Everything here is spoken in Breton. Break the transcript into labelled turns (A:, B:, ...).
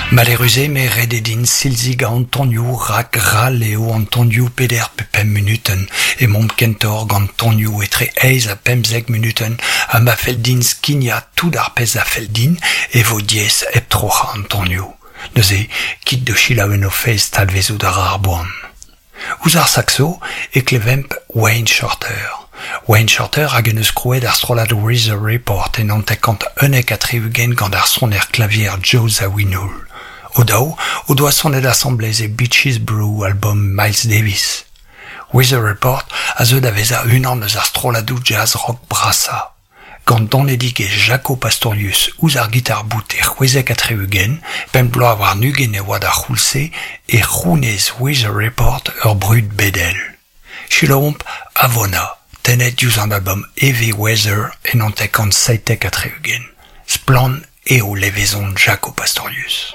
A: Malerusement ret eo din silzigañ an tonioù rak ral eo an tonioù peder pe pemp munutenn. Emaomp kentoc'h gant tonioù etre eizh ha pemzek munutenn ha ma fell din skignañ tout ar pezh a fell din e vo diaes hep troc'hañ an tonioù. Neuze, kit da selaou en o fezh talvezout a ra ar boan. Ouzh ar sakso e klevemp Wayne Shorter. Wayne Shorter hag en deus krouet ar strollad Weather Report en 1971 gant ar soner klavier Joe Zawinul. O-daou o doa sonet asambles e Bitches Brew albom Miles Davis. Weather Report a zeu da vezañ unan eus ar strolladoù jazz rock brasañ. Gant donedigezh Jaco Pastorius ouzh ar gitar-bout e 76, pemp bloaz warn-ugent e oa d'ar c'houlz-se, e c'hounez Weather Report ur brud bedel. Selaouomp Avona, tennet diouzh an albom Heavy Weather en 1977. Splann eo levezon Jaco Pastorius.